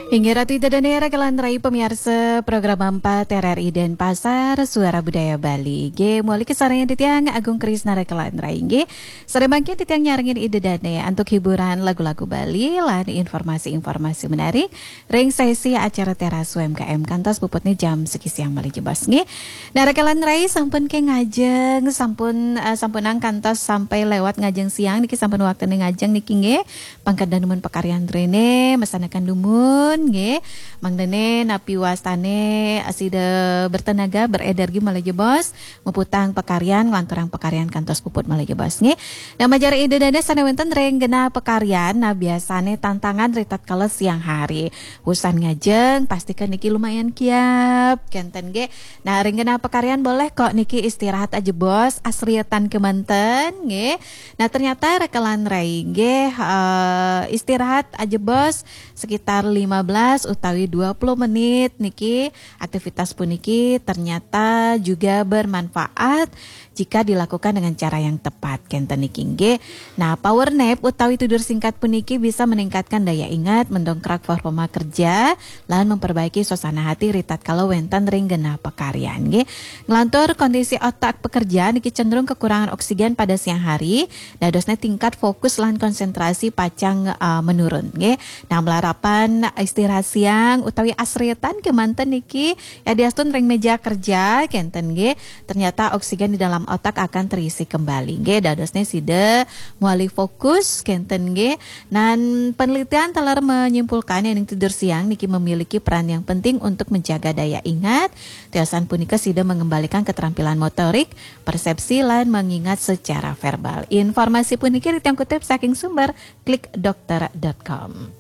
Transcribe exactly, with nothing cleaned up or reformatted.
Inggih Ratu Ida Dane, rekan rai pamiarsa program empat R R I Denpasar, Suara Budaya Bali. Nggih, malih kasarengin titiang Agung Krisna, rekan rai. Nggih, sareng mangkin titiang nyarengin Ida Dane antuk hiburan lagu-lagu Bali lan informasi-informasi menarik ring sesi acara Teras U M K M kantos puputne jam siki siang malih jebos. Nggih. Nah, rekan rai sampun ke ngajeng, sampun, eh, sampunang kantos sampai lewat ngajeng siang niki, sampun waktune ngajeng niki nggih. Pangkada dumun pakaryan rene, mesanaken dumun nggih. Mangdane napi wastane sida bertenaga, berenergi malih jebos, muputang pakaryan, nglanturang pakaryan kantos puput malih jebos nggih. Nah, manjari Ida Dane sane wenten ring genah pakaryan, nah, biasane tantangan ri tatkala siang hari. Wusan ngajeng, pastikan niki lumayan kiap, kenten nggih. Nah, ring genah pakaryan boleh kok niki istirahat ajebos, asrietan kemanten nggih. Nah, ternyata rekan rai nggih, eh, istirahat ajebos sekitar lima belas utawi dua puluh menit niki, aktivitas puniki ternyata juga bermanfaat jika dilakukan dengan cara yang tepat, kenten niki nggih. Nah, power nap utawi tidur singkat puniki bisa meningkatkan daya ingat, mendongkrak performa kerja, lan memperbaiki suasana hati ri tatkala wenten ring genah pakaryan nggih. Nglantur kondisi otak pekerja niki cenderung kekurangan oksigen pada siang hari, dadosne tingkat fokus lan konsentrasi pacang, eh, menurun nggih. Nah, malarapan istirahat siang utawi asrietan kemanten niki yadiastun ring meja kerja, kenten nggih. Ternyata oksigen di dalam otak akan terisi kembali nggih. Dadosne sida malih fokus, kenten nggih. Nah, penelitian taler menyimpulkan yen tidur siang niki memiliki peran yang penting untuk menjaga daya ingat. Tiosan punika sida mengembalikan keterampilan motorik, persepsi, lan mengingat secara verbal. Informasi puniki titiang kutip saking sumber klik dokter dot com.